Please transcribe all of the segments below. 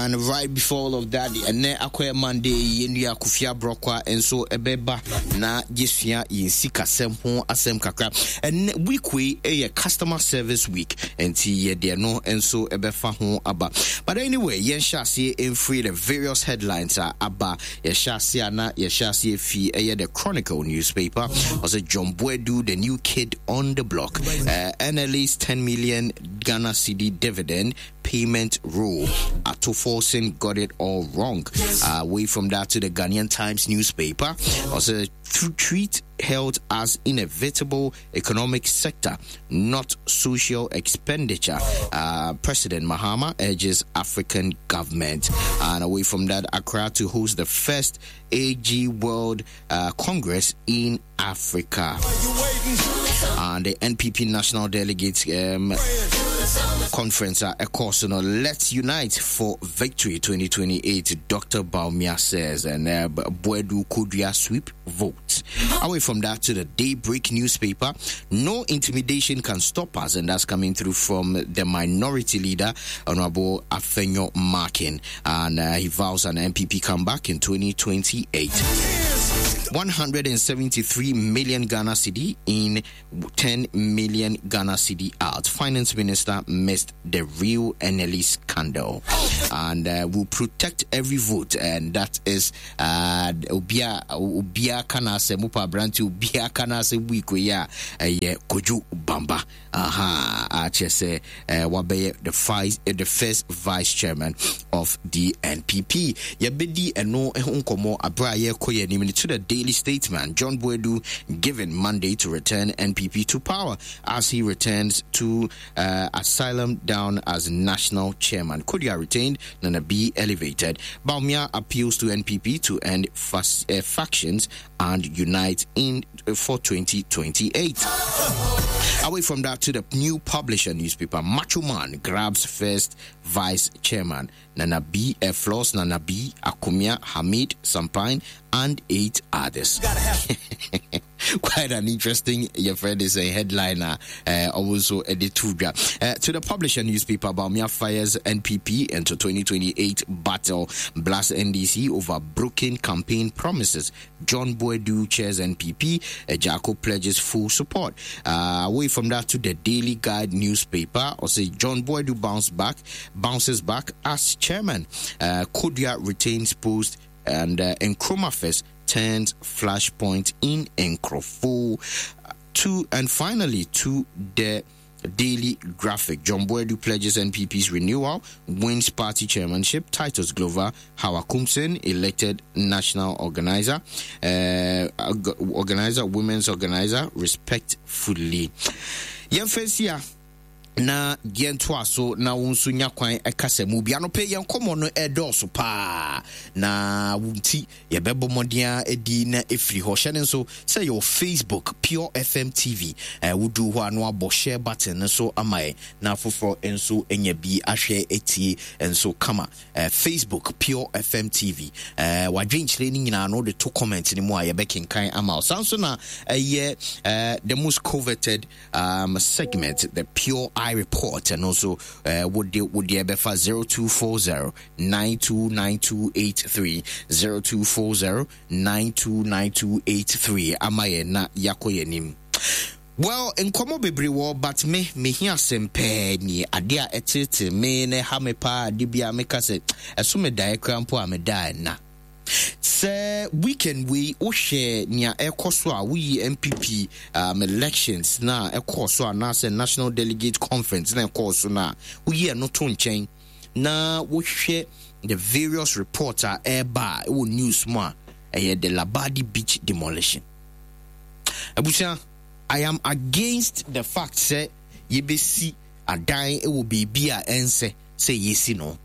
And right before all of that, ɛnɛ akɔyɛ Monday yi, yɛn nua Kofi Abrɔkwa nso ɛbɛba na yɛsua yɛn sikasɛm ho asɛm kakra. Ɛnɛ week wei ɛyɛ customer service week, nti yɛde ɛno nso ɛbɛfa ho aba. But anyway, yɛnhyɛ aseɛ mfiri the various headlines a aba. Yɛhyɛ aseɛ a na yɛhyɛ aseɛ fi ɛyɛ the Chronicle newspaper. Ɔsɛ John Boadu, the new kid on the block. NLA's 10 million Ghana cedi dividend payment rule. Ato Forson got it all wrong. Away from that to the Ghanaian Times newspaper. Also, treat health as inevitable economic sector, not social expenditure. President Mahama urges African government. And away from that, Accra to host the first AG World Congress in Africa. And the NPP National Delegates Conference of course, you know, let's unite for victory 2028, Dr. Bawumia says, and Boadu Kodua sweep votes. Away from that to the Daybreak newspaper, no intimidation can stop us, and that's coming through from the minority leader, Honorable Afenyo Markin, and he vows an NPP comeback in 2028. 173 million Ghana cedi in, 10 million Ghana cedi out. Finance Minister missed the real NLE scandal, and will protect every vote, and that is obia obia kana se mupa branti obia kana se week ya ye Kojo Bamba aha akyerɛ sɛ wabɛyɛ the vice the first vice chairman of the NPP. Yɛbɛdi ɛno ho nkɔmmɔ abere a yɛrekɔ yɛn anim to the Daily Statesman. John Boadu given mandate to return NPP to power as he returns to asylum down as national chairman. Kodua retained, Nana B elevated. Bawumia appeals to NPP to end factions and unite in for 2028. Away from that to the new publisher newspaper, Macho Man grabs first vice chairman. Nana B, Floss, Nana B, Akumia, Hamid, Sampine, and 8 others. Quite an interesting, your friend is a headliner, also editorial. To the publisher newspaper, Bawumia fires NPP into 2028 battle, blasts NDC over broken campaign promises. John Boadu chairs NPP, Jaco pledges full support. Away from that to the Daily Guide newspaper, or say John Boadu bounces back as chairman. Kodua retains post, and Nkrumah Fest turns flashpoint in Nkroful. To, and finally to the Daily Graphic, John Boadu pledges NPP's renewal, wins party chairmanship. Titus Glover, Hawa Koomson elected national organizer, organizer, women's organizer, respectfully. Yɛmfɛnsia na yɛntoa so na wo nso nya kwan ɛkasa mu bia no pɛ yɛn nkɔmmɔ no ɛdɔɔso paa na wo nti yɛbɛbɔ mmɔden a adi na ɛfiri hɔ. Hyɛ no nso sɛ yɛwɔ Facebook Pure FM TV. Wodu hɔ a na wabɔ share button no so ama yɛn na afoforɔ nso anya bi ahwɛ atie nso kama. Facebook Pure FM TV. Wadwenkyerɛ no nyinaa no wode to comment no mu a yɛbɛkenkan ama wo. Saa nso na ɛyɛ the most coveted segment, the Pure Eye Report, and also would the 0240 929283, 0240 929283 amaye na yako yenim. Well, nkɔmɔ bebree wɔ, but me hia asɛm pɛɛ nie. Ade a ɛtete me na ɛha me paa, ade bi a meka sɛ ɛso me daeɛ koraa mpo a medaa ɛna. Sɛ weekend wei wohwɛ nea ɛkɔ so a, woyi NPP elections na ɛkɔɔ so anaasɛ National Delegate Conference na ɛkɔɔ so na woyi ɛno to nkyɛn na wohwɛ the various reports a ɛreba a ɛwɔ news mu a, ɛyɛ the Labadi Beach demolition. Abusua, I am against the fact sɛ yɛbɛsi adan wɔ baabi a ɛnsɛ sɛ yɛsi no.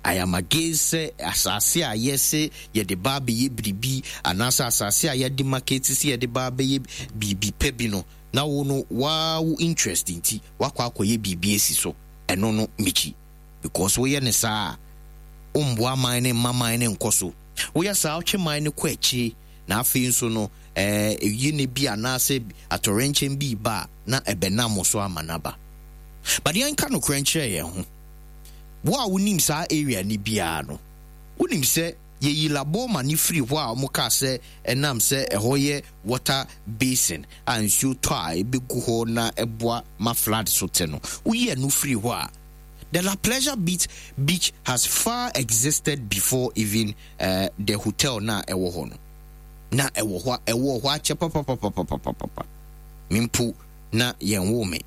I am against sɛ asase a yɛse yɛde ba abɛyɛ biribi anaasɛ asase a yɛde market sɛ yɛde ba abɛyɛ biribi pɛ bi no, na wo no waa wo interest nti wakɔ akɔyɛ biribi asi so. Ɛno no mikyi, because woyɛ ne saa a womboa man ne mma man ne nkɔ so. Woyɛ saa wotwe man no kɔ akyire, na afei nso no ɛyi ne bi anaasɛ atɔrɛnkyɛm bi ba a na ɛbɛnam so ama n'aba. But yɛnka nokorɛ nkyerɛ yɛn ho. Wo a wonim saa area no biara no, wonim sɛ yɛyi Laboma no firi hɔ a wɔkaa sɛ ɛnam sɛ ɛhɔ yɛ water basin a nsuo tɔ a ɛbɛgu hɔ na ɛboa ma flood so te no, woyi ɛno firi hɔ a, the La Pleasure Beach, beach has far existed before even the hotel na ɛwɔ hɔ no. Na ɛwɔ hɔ ɛwɔ hɔ akyɛ papapapapapapa. Me mpo na yɛnwoo me.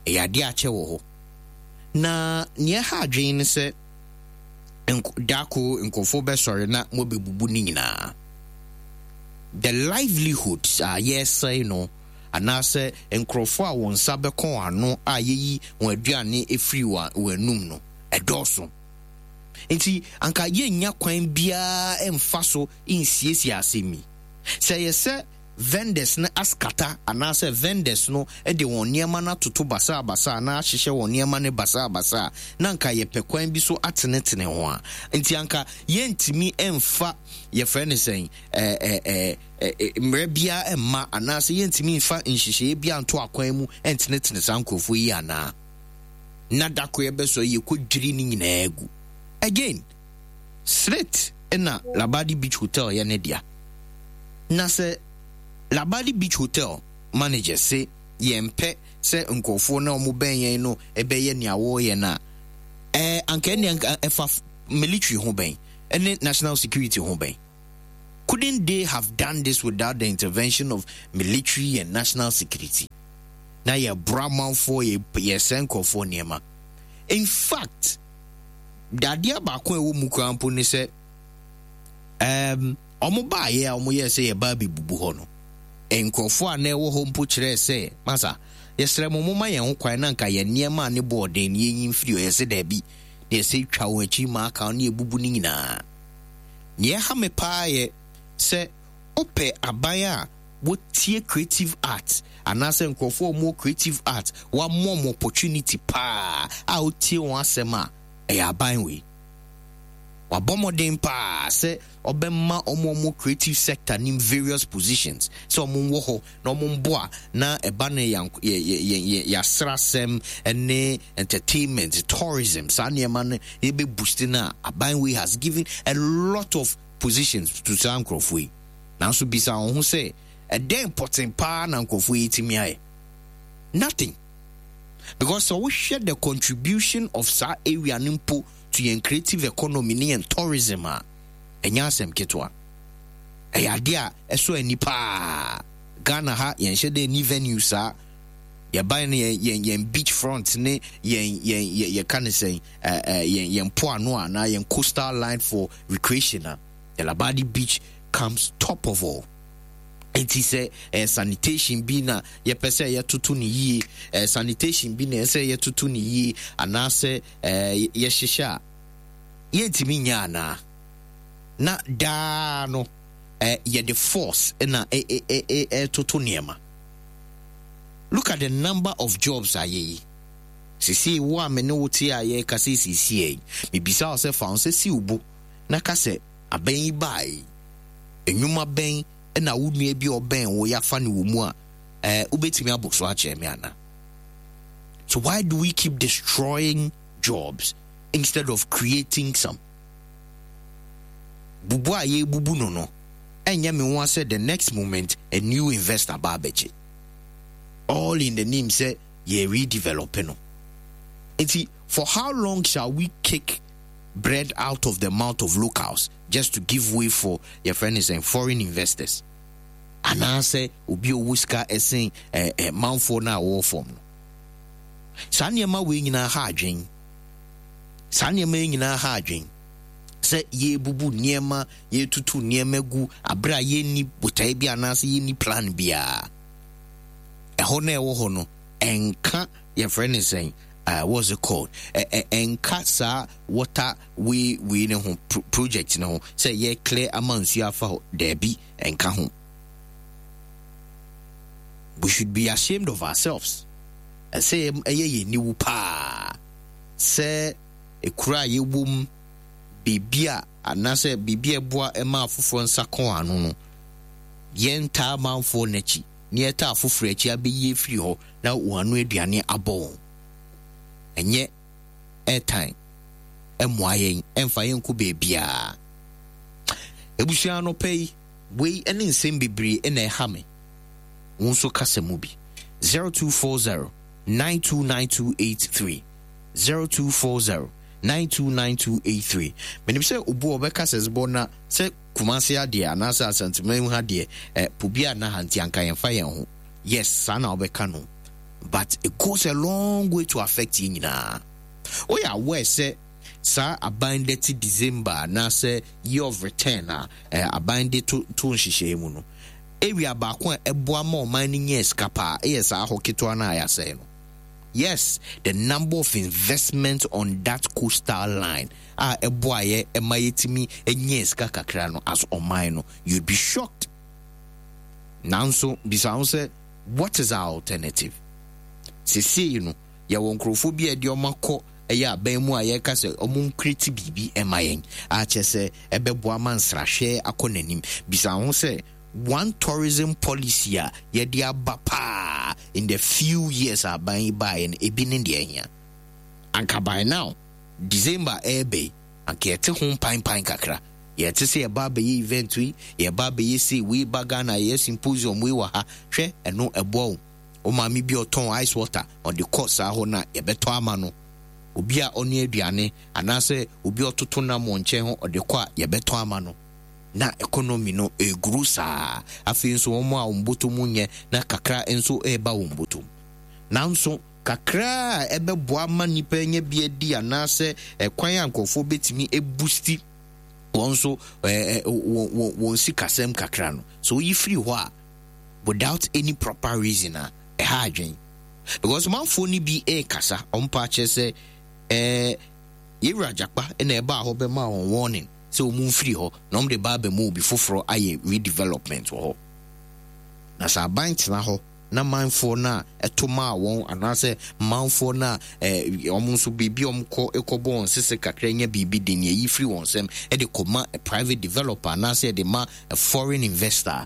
Ɛyɛ adeɛ akyɛ wɔ hɔ. Na nea ɛha adwene ne sɛ dako nkurɔfoɔ bɛsɔre na moabɛbubu ne nyinaa. The livelihoods a yɛresɛe no anaasɛ nkurɔfoɔ a wɔn nsa bɛkɔ wɔn ano a yɛyi wɔn aduane firi wɔn anum no, ɛdɔɔso. Nti anka yɛnnya kwan biara mfa so nsiesie asɛm yi. Sɛ ɛyɛ sɛ vendors no askata anaasɛ vendors no de wɔn nneɛma no atoto basabasa anaa ahyehyɛ wɔn nneɛma no basabasa a, na anka yɛpɛ kwan bi so atenetene ho a. Nti anka yɛntumi mfa yɛfrɛ no sɛn ɛɛ ɛɛ mmerɛ biara mma anaasɛ yɛntumi mfa nhyehyɛeɛ biara nto akwan mu ntenetene saa nkurɔfoɔ yi anaa? Na da koro yɛbɛsɔre yɛkɔdwiri ne nyinaa gu. Again, Srit na Labadi Beach Hotel yɛ ne dea. Na sɛ Labadi Beach Hotel manager se yɛmpɛ sɛ nkurɔfoɔ no a wɔbɛn yɛn no bɛyɛ nea wɔreyɛ no a, ɛɛ anka ɛnneɛ anka ɛfa military ho bɛn ne national security ho bɛn? Couldn't they have done this without the intervention of military and national security? Na yɛboro amanfoɔ, yɛsɛe nkurɔfoɔ nneɛma. In fact, dadeɛ baako a ɛwɔ mu koraa mpo ne sɛ, um, wɔn baeɛ a wɔyɛɛ sɛ yɛba abɛbubu hɔ no, nkurɔfoɔ a na ɛwɔ hɔ mpo kyerɛɛ sɛ, masa, yɛsrɛ mo momma yɛn ho kwan na nka yɛn nneɛma a ne bɔɔ den no yɛnyi mfiri hɔ. Yɛse daabi, na yɛsɛ twa wɔn akyi ma aka ne yɛbubu no nyinaa. Nea ɛha me paa yɛ sɛ wopɛ aban a wɔtie creative art anaasɛ nkurɔfoɔ a wɔwɔ creative art wɔama wɔn opportunity paa a wotie wɔn asɛm a, ɛyɛ aban wei. Wabɔ mmɔden paa sɛ ɔbɛma wɔn a wɔwɔ creative sector nim various positions sɛ wɔn wɔ hɔ na wɔn mboa na ɛba no yɛn yɛn yɛasrasɛm ne entertainment, tourism, saa nneɛma no yɛbɛ boost no a, aban wei has given a lot of positions to saa nkurɔfoɔ yi. Nanso bisa wɔn ho sɛ, ɛdɛn pɔten paa na nkurɔfoɔ yi tumi ayɛ? Nothing. Because sɛ wohwɛ the contribution of saa area no mpo to yɛn creative economy ne yɛn tourism a, ɛnyɛ asɛm ketewa. Ɛyɛ adeɛ a ɛsɔ ani paa. Ghana ha yɛnhyɛ dɛ ni venue saa. Yɛban no yɛn yɛn yɛn beach front ne yɛn yɛn yɛ yɛka ne sɛn ɛɛ ɛɛ yɛn yɛn mpoano anaa yɛn coastal line for recreation a, the Labadi beach comes top of all. Nti sɛ ɛyɛ sanitation bi na yɛpɛ sɛ yɛtoto ne yie, ɛyɛ sanitation bi na ɛsɛ yɛtoto ne yie anaasɛ ɛɛ yɛhyehyɛ a, yɛntumi nyɛ anaa? Na daa no ɛɛ yɛde force na ɛɛtoto nneɛma. Look at the number of jobs a yɛyi. Sesei wo a me ne wo te a yɛrekasa yi seesei yi, mebisa wo sɛ fa wo nsa si wo bo na ka sɛ abɛn yi baeɛ yi, nnwuma bɛn na wo nua bi a ɔbɛn wo yɛafa no wɔ mu a ɛɛ wobɛtumi abɔ so akyerɛ me anaa? So why do we keep destroying jobs instead of creating some? Bubu a yɛrebubu no no, ɛnyɛ me nwa sɛ the next moment a new investor ba abɛgye. All in the name sɛ yɛ redevelop no. Nti for how long shall we kick bread out of the mouth of locals just to give way for yɛfrɛ no sɛn foreign investors? Anaasɛ obi a ɔwɔ sika ɛsen eh, eh, manfoɔ no a wɔwɔ fam no. Saa nneɛma wei nyinaa ha adwen. Saa nneɛma yi nyinaa ha adwen. Sɛ yɛrebubu nneɛma, yɛretutu nneɛma gu abere a yɛnni botae bi anaasɛ yɛnni plan biara. Ɛhɔ na ɛwɔ hɔ no, ɛnka yɛfrɛ no sɛn, uh, what's it called? Ɛnka saa water way wei ne ho project ne ho sɛ yɛ clear ama nsuo afa hɔ. Daabi, ɛnka ho. We should be ashamed of ourselves. Ɛsɛ ɛyɛ yɛn niwu paa sɛ ekura a yɛwɔ mu biribi a anaasɛ biribi a ɛboa ma afoforɔ nsa kɔn ano no, yɛntaa amanfoɔ n'akyi na yɛtaa afoforɔ akyi abɛyi afiri hɔ na wɔn ano aduane abɔ wɔn. Ɛnyɛ airtime. mmoa yɛn, ɛmfa yɛn nkɔ baabiara. Abusua anɔpa yi, wei ne nsɛm bebree na ɛha me. Wo nso kasa mu bi. 0240 929283 0240 929283 Menim sɛ obu a ɔbɛka sɛ zbɔ na sɛ Kumasi adeɛ anaasɛ Asanteman ha deɛ eh, po bi a na ha nti anka yɛmfa yɛn ho. Yes, saa na wobɛka no. But it goes a long way to affect yɛn nyinaa. Woyɛ aware sɛ saa aban dɛte December anaasɛ year of return a eh, aban de to to nhyehyɛe mu no, area baako a ɛboa ma ɔman no nya sika paa yɛ saa hɔ ketewa no a yɛasɛe no. Yes, the number of investment on that coastal line a ɛboa yɛ ma yɛtumi nya sika kakra no as ɔman no, you'd be shocked. Nanso bisa ho sɛ, what is our alternative? Sesei no, yɛwɔ nkurɔfoɔ bi a ɛde wɔn akɔ ɛyɛ aban mu a yɛreka sɛ wɔn nkreti biribi ɛma yɛn a kyerɛ sɛ ɛbɛboa ma nsrahwɛ akɔ n'anim. Bisa ho sɛ, one tourism policy a yɛde aba paa in the few years a aban yi baeɛ no, ebi ne deɛ ɛhia. Anka by now, December ɛreba yi, anka yɛte ho mpanpan kakra. Yɛte sɛ yɛba abɛyɛ event yi, yɛba abɛyɛ sei, wei ba Ghana, yɛyɛ symposium wei wɔ ha. Hwɛ, ɛno ɛboa wo. Wo maame bi a ɔtɔn ice water, ɔde kɔ saa hɔ no a, yɛbɛtɔ ama no. Obi a ɔnoa aduane, anaasɛ obi a ɔtoto nam wɔ nkyɛn hɔ, ɔde kɔ a, yɛbɛtɔ ama no. Na economy no ɛreguru saa. Afei nso wɔn a wɔn bɔtɔ mu nyɛ, na kakra nso reba wɔn bɔtɔ mu. Nanso kakra a ɛbɛboa ma nnipa anya bi adi anaasɛ ɛkwan a nkurɔfoɔ bɛtumi abusti wɔn nso wɔn sikasɛm kakra no, sɛ woyi firi hɔ a, without any proper reason a, ɛha adwen. Because manfoɔ no bi rekasa, wɔn pa akyerɛ sɛ ɛɛ Yɛwura Agyakpa na ɛbaa hɔ bɛmaa wɔn warning sɛ wɔn mfiri hɔ na wɔn de ba abɛma obi foforɔ ayɛ redevelopment wɔ hɔ. Na sɛ aban tena hɔ na manfoɔ no a ɛto maa wɔn anaasɛ manfoɔ no a eh, wɔn nso biribi a wɔkɔ kɔbɔ wɔn sese kakra nya biribi de nea ɛyi firi wɔn nsam de kɔma a private developer anaasɛ de ma a foreign investor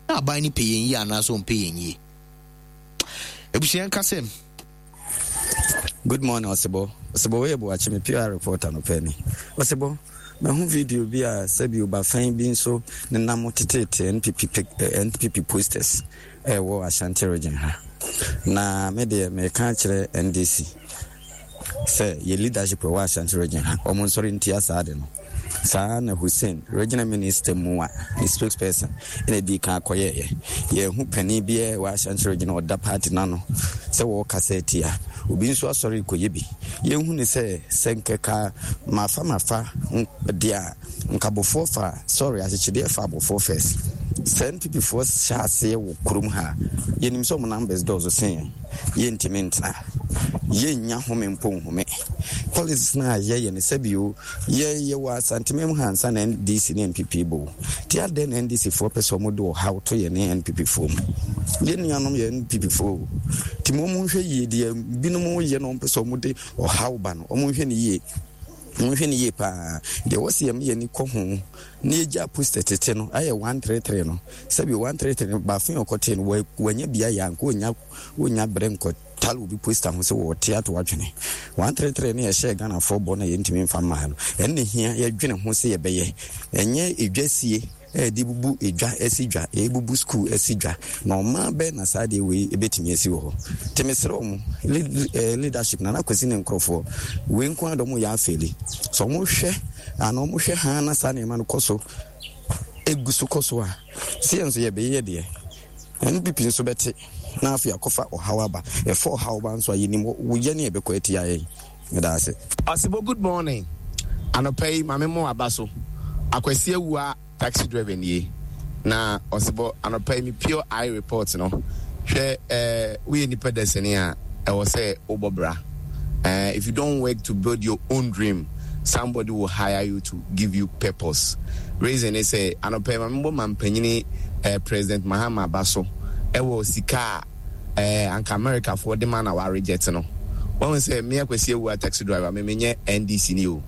na aban no pɛ yɛn yie anaasɛ ɔmpɛ yɛn yie. Abusua nka sɛ. Good morning Ɔsebɔ. Ɔsebɔ wei yɛ Boakye me PR reporter no pɛ ni. Ɔsebɔ, mahu video bi a sɛbi obafan bi nso nenam teteete NPP pic eh, NPP posters ɛwɔ Ashanti region ha. Na me deɛ meka akyerɛ NDC sɛ yɛ leadership ɛwɔ Ashanti region ha, wɔn nsɔre ntia saa ade no. Saa na Hussein, Regional Minister mua ne spokesperson na edii kan kɔyɛeɛ. Yɛanhu panin biara wɔ Ashanti Region a ɔda party no ano sɛ wɔrekasa atia. Obi nso asɔre rekɔyɛ bi. Yɛnhu no sɛ, sɛ nkɛka mafa mafa deɛ a, nka abofoɔ fa, sorry, akyekyedeɛ fa abofoɔ first. Sɛ NPP foɔ hyɛ aseɛ wɔ kurom ha a, yɛnim sɛ wɔn numbers dɔɔso sen yɛn. Yɛntumi ntena. Yɛnnya home mpo nhome. Policies no a yɛyɛ no, sɛbi o, Yɛ yɛ wɔ Asanteman mu ha ansa na NDC ne NPP bɔ o. Nti adɛn na NDC foɔ pɛ sɛ ɔmo de ɔhaw to yɛ ne NPP foɔ mu? Yɛ nuanom yɛ NPP foɔ o. Nti mo ɔmo nhwɛ yie deɛ binom yɛ na ɔmo pɛ sɛ ɔmo de ɔhaw ba no ɔmo nhwɛ no yie. Ɔmo nhwɛ no yie paa. Deɛ ɛwɔ sɛ yɛma yɛn ani kɔ ho na yɛgya poster tete no ayɛ 133 no. Sɛbi 133 no baafin ɔkɔtee no wanya bi ayɛ anka ɔnya ɔnya berɛ nkɔ Tale obi poster ho sɛ wɔte ato adwene. 133 no yɛhyɛɛ Ghanafoɔ bɔ na yɛntumi mfa mmaa no. Ɛno na ɛhia yɛdwene ho sɛ yɛbɛyɛ. Ɛnyɛ edwa sie a yɛde bubu edwa asi dwa, yɛbubu sukuu asi dwa. Na ɔman bɛn na saa adeɛ wei ɛbɛtumi asi wɔ hɔ? Nti mesrɛ wɔn, leadership, Nana Kwasi ne nkorɔfoɔ, wei nko ara deɛ wɔyɛ afeeli. Sɛ wɔhwɛ anaa wɔhwɛ haa na saa nneɛma no kɔ so, ɛgu so kɔ so a, sɛ yɛn nso yɛbɛyɛ deɛ. NPP nso bɛte na afei akɔfa ɔhaw aba. Ɛfa ɔhaw ba nso a, yɛnim wo yɛ ne ɛbɛkɔ atia yɛn. Meda ase. Ɔsebo good morning anɔpa yi ma me mo aba so Akwasi Awuah taxi driver nie na Ɔsebɔ anɔpa yi me pure eye report no hwɛ eh woyɛ nipa dasani a ɛwɔ sɛ wobɔ bra eh if you don't work to build your own dream somebody will hire you to give you purpose reason ne sɛ anɔpa yi ma mebɔ mampanyini eh, President Mahama aba so ɛwɔ sika a eh, anka America foɔ de ma na wa reject no wahu sɛ me Akwasi Awuah taxi driver me menyɛ NDC ni o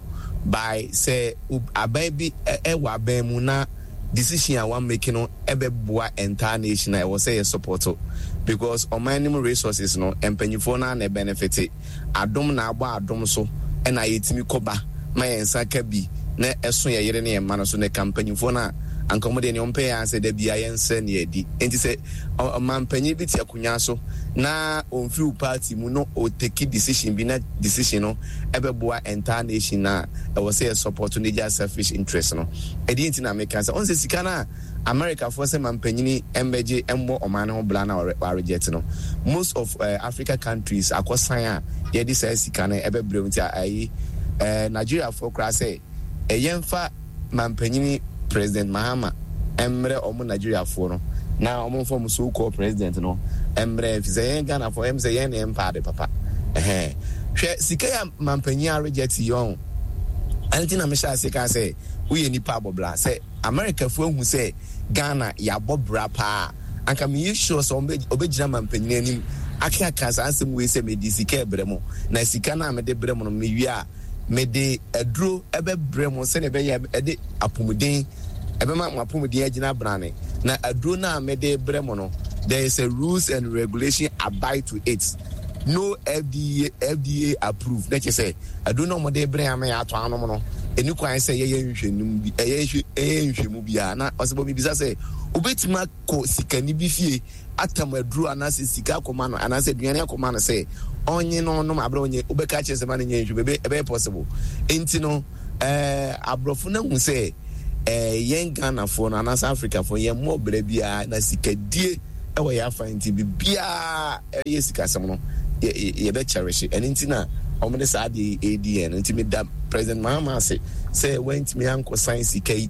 by sɛ aban bi ɛwɔ aban mu na decision a wa make no ɛbɛboa entire nation a ɛwɔ sɛ yɛ support because ɔman no mu resources no mpanyifoɔ no ara na ɛbenefit. Adom na abɔ adom so na yɛtumi kɔ ba. ma yɛn nsa ka bi na ɛso yɛn yere ne yɛn mma no so na ɛka mpanyimfoɔ no a, anka wɔn deɛ nea wɔpɛ yɛ ara sɛ da biara yɛnsrɛ na yɛadi. Enti sɛ ɔmanpanyin bi te akonnwa so na ɔmfiri wo party mu na ɔteki decision bi na decision no ɛbɛboa entire nation no a, ɛwɔ sɛ yɛ support no gya selfish interest no. Ɛdeɛ nti na meka sɛ ɔn sɛ sika no a Americafoɔ sɛ mampanyini mmɛgye mmɔ ɔman no ho bra na wɔareject no, most of Africa countries akɔsan a yɛde saa sika no ɛbɛbrɛ wo nti ayi Nigeriafoɔ koraa sɛ yɛmfa mampanyini President Mahama mmrɛ ɔmo Nigeriafoɔ no na ɔmo mfa ɔmo so called president no mmrɛ ɛfiri sɛ yɛn Ghanafoɔ ɛm sɛ yɛn na yɛmpa ade papa ɛhɛn hwɛ sika yi a mampanyin areject yi ɔn ɛno nti na mehyɛ ase kaa sɛ woyɛ nipa abɔbra sɛ Americafoɔ ahu sɛ Ghana yɛabɔ bra paa a, anka meyɛ sure sɛ ɔbɛgyina mampanin anim akeka saa asɛm wei sɛ mede sika rebrɛ mo, na sika no a mede brɛ mo no mewie a, mede aduro bɛbrɛ mo sɛdeɛ ɛbɛyɛ a ɛde apomuden ɛbɛma mo apomuden agyina brane, na aduro no a mede brɛ mo no, there is a rules and regulation abide to it. No FDA, FDA approved. Na kyerɛ sɛ aduro no a wɔde brɛ ama yɛ atɔ anom no, ɛni kwan sɛ yɛyɛ nhwɛnum bi, ɛyɛ ɛyɛ nhwɛmu biara. Na ɔsɛ bɔ mibisa sɛ, wobɛtumi akɔ sikani bi fie atam aduro anaasɛ sika akɔma no anaasɛ aduane akɔma no sɛ ɔnye no ɔnom abrɛ ɔnyɛ wobɛka kyerɛ sɛ ma no nyɛ nhwɛmu ɛbɛyɛ possible. Nti no ɛɛ aborɔfo no ahu sɛ ɛɛ yɛn Ghanafoɔ no anaasɛ Afrikafoɔ yɛn mmɔ brɛ biara na sikadie ɛwɔ yɛn afa nti biribiara ɛyɛ sikasɛm no yɛbɛ cherish ɛno nti na wɔn de saa adeɛ yi ɛredi yɛn no nti meda President Mahama ase sɛ wantumi ankɔ san sika yi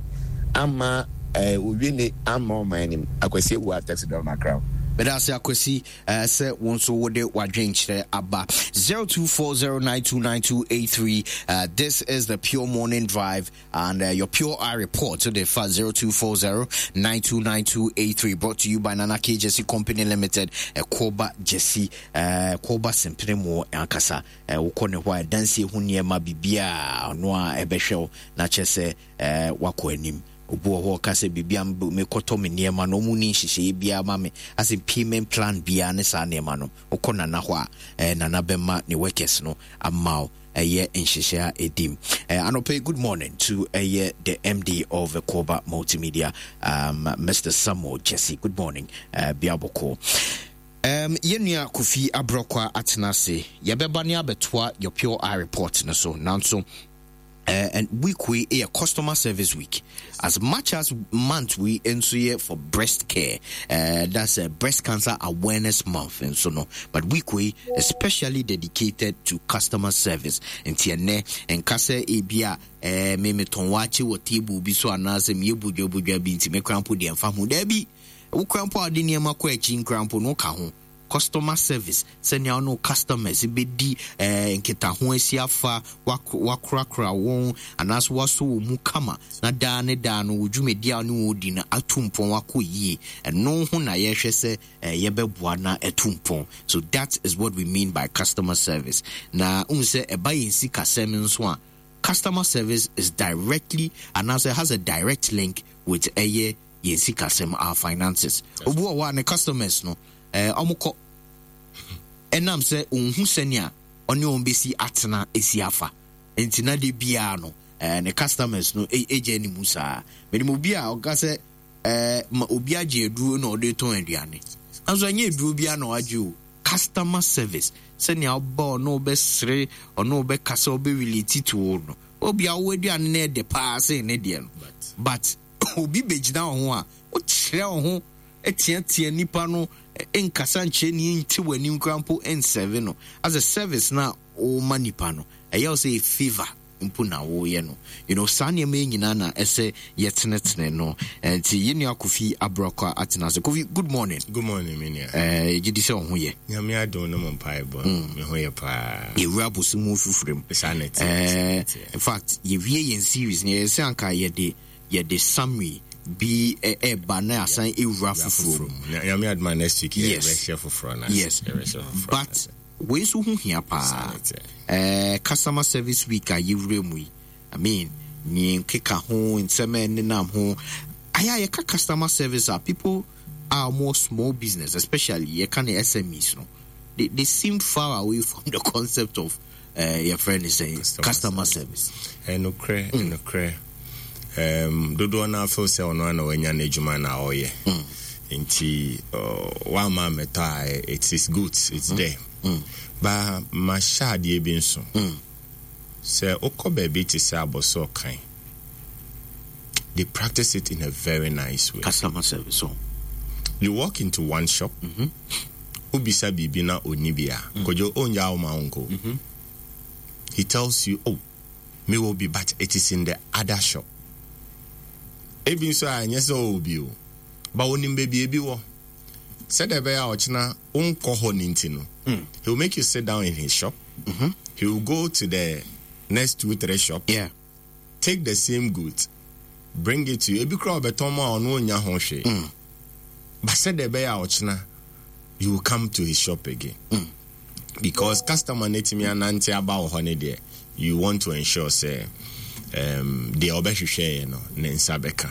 ama ɛɛ owie ne ama ɔman anim. Akwasi Awuah taxi driver Accra. Meda ase Akwasi eh, sɛ wo nso wode w'adwenkyerɛ aba. 0240929283 uh, this is the Pure Morning Drive and uh, your Pure Eye Report to the fa 0240929283 brought to you by Nana K Jesse Company Limited, Koba Jesse, Koba Simpene Mo ankasa. Wokɔ ne hɔ a ɛdansie ho nneɛma biribiaa ɔno a ɛbɛhwɛ wo na kyerɛ sɛ wakɔ anim. Obi wɔ hɔ ɔka sɛ biribi a mekɔtɔ me nneɛma no ɔmu ni nhyehyɛeɛ biara ma me asɛ payment plan biara ne saa nneɛma no. Wokɔ Nana hɔ a Nana bɛma ne workers no ama wo ɛyɛ nhyehyɛ a ɛdim. Anɔpa yi, good morning to ɛyɛ the MD of Koba Multimedia, Mr. Samuel Jesse. Good morning, Biaboko. Yɛn nua Kofi Abrɔkwa atena ase. Yɛbɛba ne abɛtoa your Pure Eye report no so. Nanso, and week wei yɛ customer service week. As much as month wei nso yɛ for breast care, that's a breast cancer awareness month nso no, but week wei especially dedicated to customer service. Nti ɛnɛ nka sɛ ebi a me metɔn waakye wɔ table bi so anaasɛ meyɛ bodwabodwa bi nti me kora mpo deɛ mfa ho. Daabi, wo kora mpo a wode nneɛma kɔ akyi nkora mpo no woka ho. Customer service, sɛnea wo ne wo customers bɛdi eh, nkitaho asi afa, wakorakora wɔn anaasɛ wasɔ wɔn mu kama na daa ne daa no wo dwumadi a wo ne wɔn di no atu mpɔn akɔ yie. Ɛno ho na yɛhwɛ sɛ eh, yɛbɛboa na atu mpɔn. So that is what we mean by customer service. Na wohu sɛ ɛba yɛn sikasɛm nso a, customer service is directly anaasɛ has a direct link with ɛyɛ yɛn sikasɛm, our finances. Obi wɔ hɔ a ne customers no, eh, wɔn kɔ ɛnam sɛ ɔnhu sɛnea ɔne wɔn bɛsi atena esi afa nti na de biara no eh, ne customers no egya ne mu saa. Menim obi a ɔka sɛ eh, ma obi agye aduro na ɔde tɔn aduane, nanso ɛnyɛ aduro biara na wagye o. Customer service, sɛnea ɔba ɔne wobɛsere, ɔne wobɛkasa, ɔbɛrelate to wo no, obi a wowɔ aduane no ɛdɛ paa sen ne deɛ no, but obi bɛgyina wo ho a, wokyerɛ wo ho teatea nipa no, nkasa nkyerɛ ni, nte w'anim koraa mpo nsɛve no. As a service na woma nipa no, ɛyɛ wo sɛ favor mpo na woyɛ no. You know, saa nneɛma yi nyinaa na ɛsɛ yɛtenetene no. Nti yɛn nua Kofi Abrɔkwa atena ase. Kofi, good morning. Good morning, me nua. Eh, gye di sɛ wo ho yɛ. Nyame adom no mo mpaebɔ, me ho yɛ paa. Yɛwura abosom mu fifiri mu. Saa na ɛteɛ, saa na ɛteɛ. In fact, yɛwie yɛn series no, yɛyɛ sɛ anka yɛde yɛde summary bi ɛba na asan ewura foforɔ mu. Nyame adom a next week yɛbɛhyɛ foforɔ no ase. Yes, but wei nso ho hia paa. Eh, customer service week a yɛwura mu yi, I mean, ne nkeka ho, nsɛm a ɛnenam ho. Ayɛ a yɛka customer service a, people a wɔwɔ small business, especially yɛka ne SMEs no, they seem far away from the concept of yɛfrɛ no sɛ customer service. Ɛnokorɛ, ɛnokorɛ. Dodoɔ no afeel sɛ ɔno ana wanya n'adwuma na ɔyɛ. Nti wamma ammɛtɔ a, it is good, it's there. Ba mahyɛ adeɛ bi nso. Sɛ wokɔ baabi te sɛ Abɔsɔɔ kan, they practice it in a very nice way. Customer service. So. You walk into one shop, wobisa biribi na ɔnni bi a, Kojo ɔngyaa wo ma wonkɔ. He tells you, oh, mewɔ bi but it is in the other shop. Ebi nso a ɛnyɛ sɛ ɔwɔ bi o, but onim baabi ebi wɔ. Sɛdeɛ ɛbɛyɛ a ɔkyena wonkɔ hɔ no nti no, he will make you sit down in his shop. He will go to the next 2, 3 shop. Take the same goods, bring it to you. Ebi koraa ɔbɛtɔn mu a ɔno ɔnnya ho hwee. But sɛdeɛ ɛbɛyɛ a ɔkyena you will come to his shop again. Because customer no atumi anante aba wɔ hɔ no deɛ, you want to ensure sɛ deɛ ɔbɛhwehwɛeɛ no ne nsa bɛka.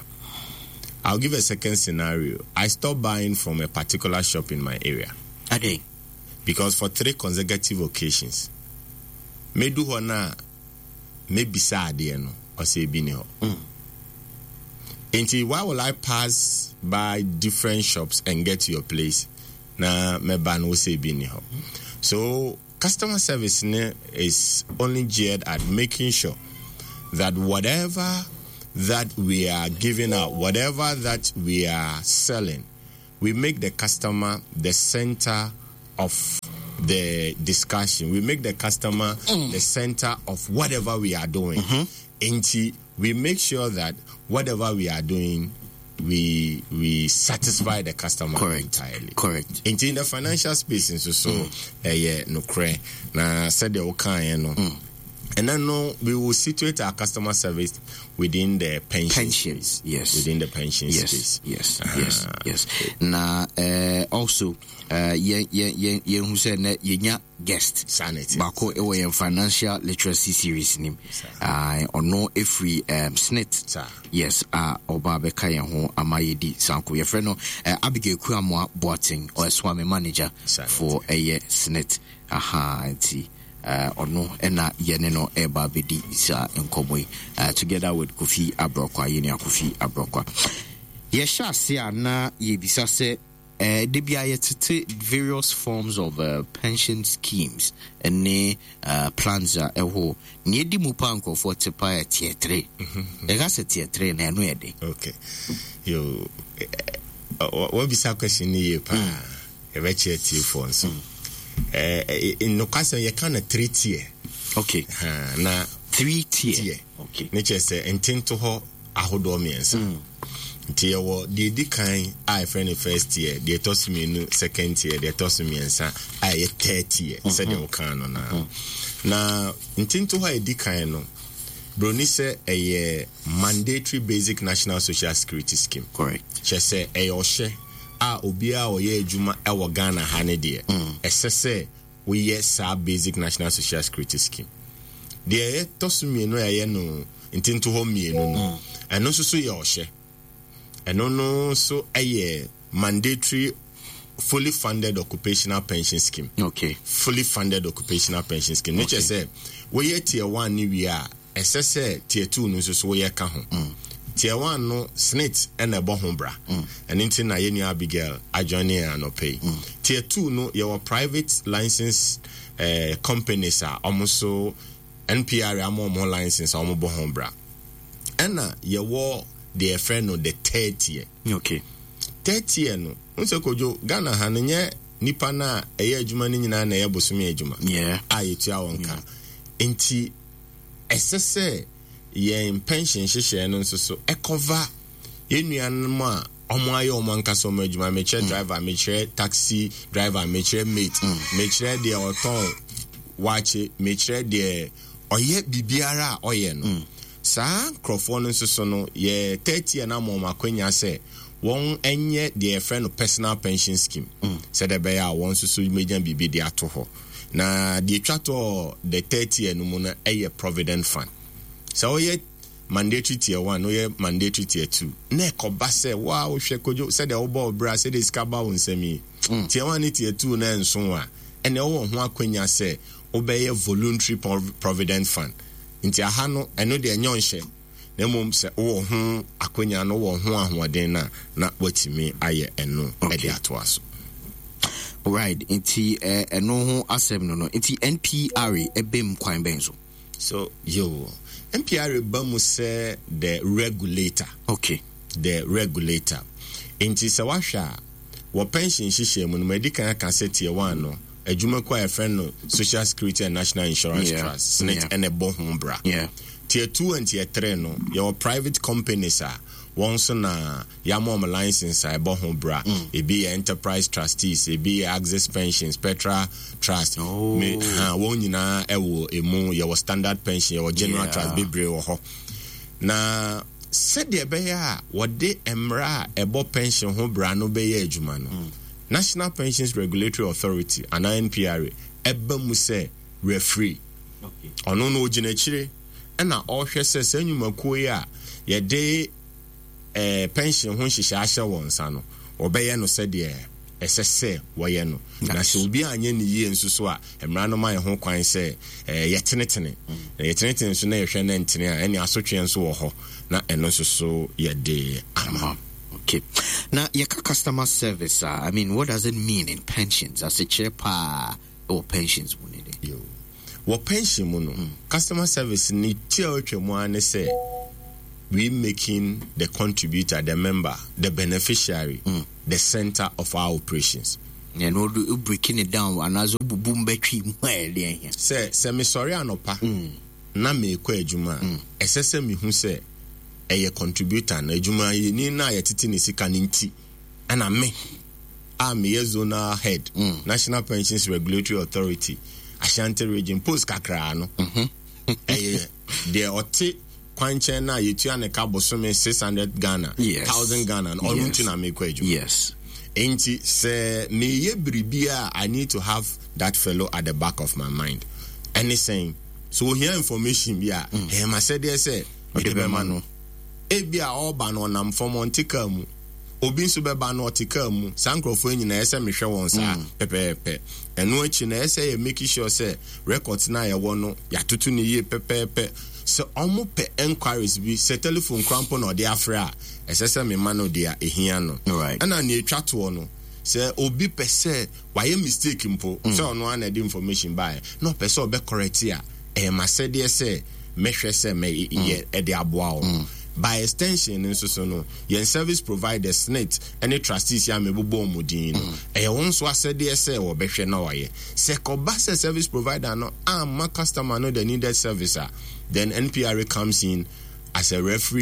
I'll give a second scenario. I stopped buying from a particular shop in my area. Ade. Because for 3 consecutive occasions, medu hɔ na mebisa adeɛ no, ɔsɛ ebi ni hɔ. Nti why will I pass by different shops and get to your place na mɛba no wosɛ ebi ni hɔ? So customer service ne is only geared at making sure that whatever that we are giving out, whatever that we are selling, we make the customer the center of the discussion. We make the customer the center of whatever we are doing. Nti we make sure that whatever we are doing, we satisfy the customer entirely. Nti in the financial space nso so, ɛyɛ nokorɛ. Na sɛdeɛ wokaeɛ no, and then no, we will situate our customer service within the pension Pensions, space. Yes. Within the pension Yes, space. yes, yes, yes. Na also, ye who said na ye nya guest. Sanity. Baako ewo ye financial literacy series nim. Ono efri SSNIT. Sa. Yes, oba beka ye ho ama ye di sanko. Ye friend no, Abigail Kuamwa Boateng, or Swami manager Sanity. for eye SSNIT. Aha, nti. Ono ena yene no eba bedi sa nkomo yi, together with Kofi Abrokwa, yene Kofi Abrokwa. Ye sha se na ye bisa se, de bia ye tete various forms of pension schemes ne plans a eho. Ne di mu pa nkrofo te pa e tier 3. E ga se tier 3 na eno ye de. Okay. Yo, what bisa question ni ye pa? E be che tier 4 nso. No question ye kan na 3 tier. Okay. Ha, na 3 tier. Tier. Okay. Ne che se ntento ho ahodo miensa. Nti ye wo de di kan a friend the first tier, de tosu mienu second tier, de tosu miensa a ye third tier. Se de wo kan no na. Na ntento ho e di kan no broni se eye mandatory basic national social security scheme. Correct. Che se eye ohye a obi a oye adwuma e wo Ghana ha ne de. Ese se we ye sa basic national social security scheme. De ye tosu mienu eye no ntento ho mienu no. Eno so so ye ohye. Eno no so eye mandatory fully funded occupational pension scheme. Okay. Fully funded occupational pension scheme. Nature say we ye tier 1 ni we are SSA tier 2 no so so we ye ka ho. Tier 1 no SSNIT e na ebo ho bra. And nti na ye ni Abigail ajoin and pay. Tier 2 no your private license companies are almost so NPR am mo license am bo ho bra. And na ye wo the friend no the third tier. Okay. Third tier no unse kojo Ghana ha no nye nipa na eye adwuma ni nyina na eye bosome adwuma. A yetua won ka. Enti esese ye pension hyehyɛ no nso so e cover ye nuanom a omo aye omo anka so omo adwuma, me kyerɛ driver, me kyerɛ taxi driver, me kyerɛ mate, me kyerɛ de oton wache, me kyerɛ de oye bibiara a oye no. Saa nkrofo no nso so no ye 30 na mo akwanya sɛ won enye de friend no personal pension scheme. Sɛ de be ya won nso so meja bibi de ato hɔ. Na de twa to the 30 no mu na eye provident fund. Sɛ oye mandatory tier 1, oye mandatory tier 2. Na ekoba sɛ wa wo hwɛ kojo sɛ de wo bɔ obra sɛ de sika ba wo nsɛm yi. Tier 1 ni tier 2 na enso a ene wo ho akwanya sɛ wobɛyɛ voluntary provident fund. Nti aha no, ɛno deɛ ɛnyɛ ɔnhyɛ, na mmom sɛ wowɔ ho akwanya no, wowɔ ho ahoɔden no a, na woatumi ayɛ ɛno de atoa so. Right, nti ɛno ho asɛm no no, nti NPRA ɛbam kwan bɛn so? So, yo, NPRA ba mu sɛ the regulator. Okay. The regulator. Nti sɛ wahwɛ a, wɔ pension nhyehyɛe mu no, madi kan aka sɛ tier one no, adwumakuo a yɛfrɛ no Social Security and National Insurance Trust, SSNIT, ɛna ɛbɔ ho bra. Tier 2 and tier 3 no, yɛwɔ private companies a wɔn nso na yɛama wɔn license a ɛbɔ ho bra. Ebi yɛ Enterprise Trustees, ebi yɛ Axis Pensions, Petra Trust. Oh. Me, ha, wɔn nyinaa ɛwɔ emu. Yɛwɔ Standard Pension, yɛwɔ General Trust, bebree wɔ hɔ. Na sɛdeɛ ɛbɛyɛ a wɔde mmara a ɛbɔ pension ho bra no bɛyɛ adwuma no, National Pensions Regulatory Authority anaa NPRA ɛba mu sɛ referee. Ɔno no ogyina akyire ɛna ɔrehwɛ sɛ saa nnwumakuo yi a yɛde pension ho nhyehyɛ ahyɛ wɔn nsa no, wɔbɛyɛ no sɛdeɛ ɛsɛ sɛ wɔyɛ no. Na sɛ obi anyɛ ne yie nso so a, mmara no ma yɛn ho kwan sɛ yɛtenetene. Na yɛtenetene nso na yɛhwɛ na ntene a, ɛne asotweɛ nso wɔ hɔ, na ɛno nso so yɛde ama. Okay. Na yɛka customer service a, I mean, what does it mean in pensions? Asekyerɛ paa ɛwɔ pensions mu ne de. Yo. Wɔ pension mu no, customer service ne ti a ɔtwa mu ara ne sɛ we making the contributor, the member, the beneficiary, the center of our operations. Na ɛno wo breaking it down anaasɛ wobubu mu bɛtwe mu a ɛde ahia. Sɛ mesɔre anɔpa na merekɔ adwuma a, ɛsɛ sɛ mehu sɛ ɛyɛ contributor no, adwumayɛni no a yɛtete ne sika no nti ɛna me a meyɛ zonal head, National Pensions Regulatory Authority, Ashanti Region, post kakraa no, ɛyɛ deɛ ɔte kwankyɛn no a yɛtua ne ka bosome 600 Ghana, 1000 Ghana no, ɔno nti na mekɔ adwuma. Nti sɛ meyɛ biribi a, I need to have that fellow at the back of my mind. Ɛne sɛn, so ohia information bi a, ɛyɛ m'asɛdeɛ sɛ mede bɛma no. Ebi a ɔreba no ɔnam fam, ɔnte kaa mu. Obi nso bɛba no ɔte kaa mu. Saa nkurɔfoɔ yi nyinaa ɛsɛ mehwɛ wɔn saa pɛpɛɛpɛ. Ɛno akyi no ɛsɛ sɛ yɛ make sure sɛ records no a yɛwɔ no yɛatoto no yie pɛpɛɛpɛ. Sɛ ɔmo pɛ enquiries bi, sɛ telephone koraa mpo na ɔde afrɛ a, ɛsɛ sɛ mema no deɛ ehia no. Ɛna nea etwa toɔ no, sɛ obi pɛ sɛ wayɛ mistake mpo, sɛ ɔno ara na ɛde information baeɛ, na ɔpɛ sɛ ɔbɛ correct a, ɛyɛ m'asɛdeɛ sɛ mɛhwɛ sɛ mɛyɛ ɛde aboa wɔn. By extension no nso so no, yɛn service providers, SSNIT ne trustees yi a mebobɔ wɔn din no, ɛyɛ wɔn nso asɛdeɛ sɛ wɔbɛhwɛ na wɔayɛ. Sɛ kɔba sɛ service provider no amma customer no the needed service a, then NPRA comes in as a referee.